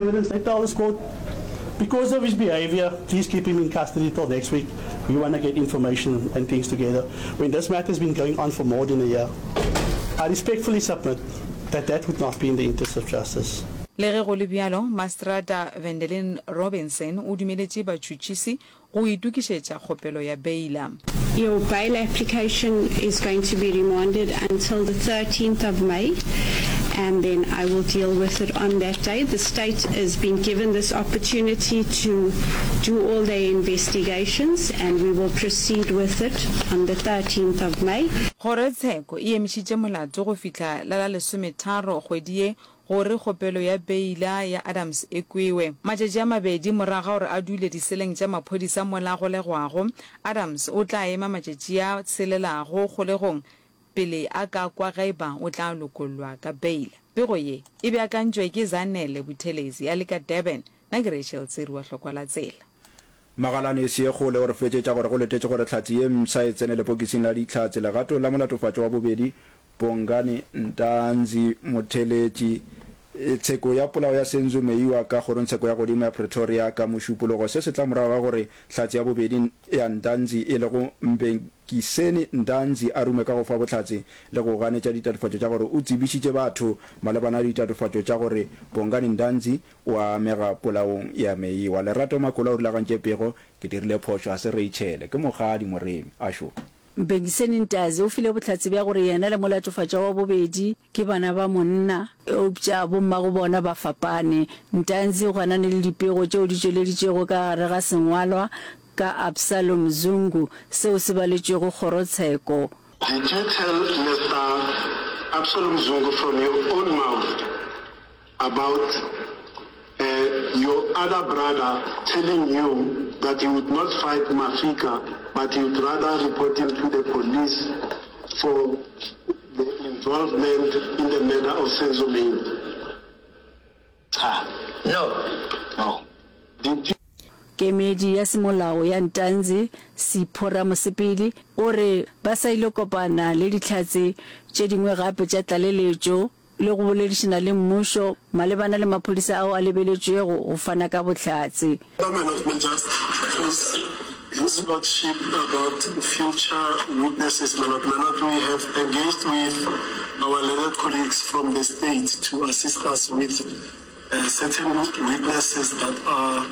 Evidence, they tell this court, because of his behavior, please keep him in custody till next week. We want to get information and things together. When this matter has been going on for more than a year, I respectfully submit that that would not be in the interest of justice. Le ge go le bjalo, Mastrata Vendelin Robinson o dumeletše batšhotšhisi go itokišetša kgopelo ya beila. Your bail application is going to be remanded until the 13th of May and then I will deal with it on that day. The state has been given this opportunity to do all their investigations and we will proceed with it on the 13th of May. Kgorotsheko e emišitše molato go fihla la la lesometharo kgwedi ye gore kgopelo ya beila ya Adams e kwewe. Matšatši a mabedi morago ga gore a dule diseleng tša maphodisa mola a golegwago, Adams o tla ema matšatši a tshelelago kgolegong pele a ka kwa ge eba o tla lokollwa ka beila. Pego ye e beakantšwe ke Zanele Buthelezi a le ka Durban. Nna ke Rachel Tsiri wa Hlokwa la Tsela. Magalane Seekgole o re fetšetša gore go letetše gore hlatse ye mpsha e tsene lepokising la dihlatse legatong la molatofatšwa wa bobedi Bongani Ntanzi Motheletši. Tsheko ya polao ya Senzo Meyiwa ka kgorongtsheko ya godimo ya Pretoria ka Mošupologo. Se se tla morago ga gore hlatse ya bobedi ya Ntanzi e lego Mbhekiseni Ntanzi a rume ka go fa bohlatse le go ganetša ditatofatšo tša gore o tsebišitše batho malebana le ditatofatšo tša gore Bongani Ntanzi O a amega polaong ya Meyiwa. Lerato Makola o rulagantše pego, Ke dirile phošo, ga se Rachel, ke Mokgadi Moremi. Ašo. Mbengiseni Ntazi o file bohlatse bja gore yena le molatofatšwa wa bobedi ke bana ba monna, eupša bommagobona ba fapane. Ntanzi o ganane le dipego tšeo di tšweleditšwego ka gare ga sengwalwa ka Absalom Zungu seo se baletšwego kgorotsheko. Did you tell Mister Absalom Zungu from your own mouth about your other brother telling you that he would not fight Mafika but he would rather report him to the police for the involvement in the murder of Senzo Meyiwa? Cha. No. No. Did you. Kemedi ya semolao ya Ntanzi, Sipho Ramosepele, o re ba sa ile kopana le dihlatse tše dingwe gape tša tlaleletšo le go boledišana le mmušo malebana le maphodisa ao a lebeletšwego go fana ka bohlatse. My Lord may just close His Lordship about future witnesses, my Lord. My Lord, we have engaged with our learned colleagues from the state to assist us with certain witnesses that are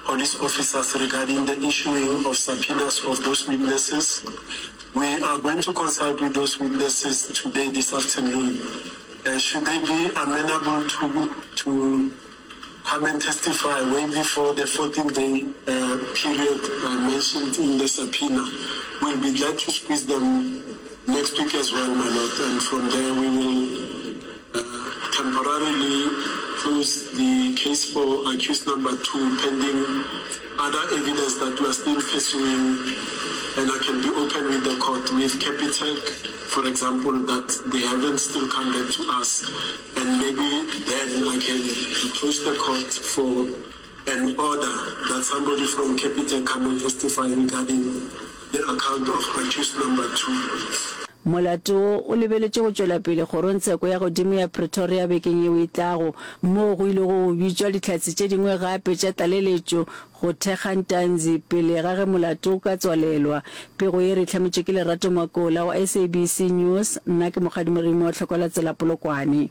police officers regarding the issuing of subpoenas of those witnesses. We are going to consult with those witnesses today, this afternoon. Uh, should they be amenable to, to come and testify way before the 14-day uh, period uh, mentioned in the subpoena, we'll be glad to squeeze them next week as well, my lord. And from there we will uh, temporarily close the case for accused number two pending other evidence that we are still pursuing and I can be open with the court with Capitec for example that they haven't still come back to us and maybe then I can approach the court for an order that somebody from Capitec come and testify regarding the account of accused number 2. Molato wo o lebeletše go tšwela pele Kgorongtsheko ya Godimo ya Pretoria bekeng yeo e tlago, moo go ilego go bitšwa dihlatse tše dingwe gape tša tlaleletšo go thekga Ntanzi pele ga ge molato o ka tswalelwa. Pego ye re e hlametšwe ke Lerato Makola wa SABC News, nna ke Mokgadi Moremi wa Tlhokola-Tsela Polokwane.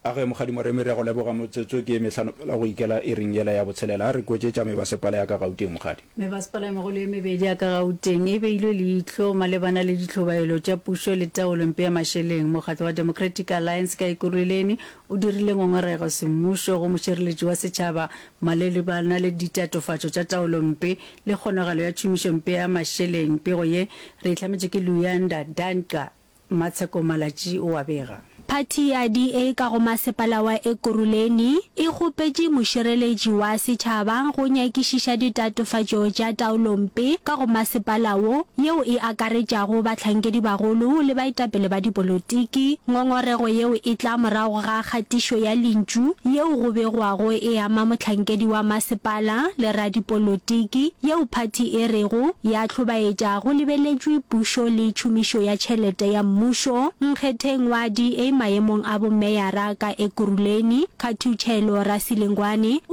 A ge, Mokgadi Moremi, re a go leboga. Motsotso ke mehlano fela go ikela iring yela ya botshelela. A re kwetše tša mebasepala ya ka Gauteng, Mokgadi. Mebasepala e megolo ye mebedi ya ka Gauteng e beilwe leihlo malebana le ditlhobaelo tša pušo le taolompe ya mašeleng. Mokgatlo wa Democratic Alliance ka Ekurhuleni o dirile ngongorego semmušo go mošireletši wa setšhaba malebana le ditatofatšo tša taolompe le kgonagalo ya tšhomišompe ya mašeleng. Pego ye re e hlametše ke Luyanda Danca. Matsheko Malatji o a bega. Phathi ya DA ka go masepala wa Ekurhuleni e kgopetše mošireletši wa setšhaba go nyakišiša ditatofatšo tša taolompe ka go masepala wo, yeo e akaretšago bahlankedibagolo le baetapele ba dipolotiki. Ngongorego yeo e tla morago ga kgatišo ya lentšu yeo go begwago e ama mohlankedi wa masepala le radipolotiki, yeo phathi e rego ya hlobaetša go lebeletšwe pušo le tšhomišo ya tšhelete ya mmušo. Nkgetheng wa DA. maemong a bomeyara ka Ekurhuleni, Khathutšhelo Rasilingwane, o.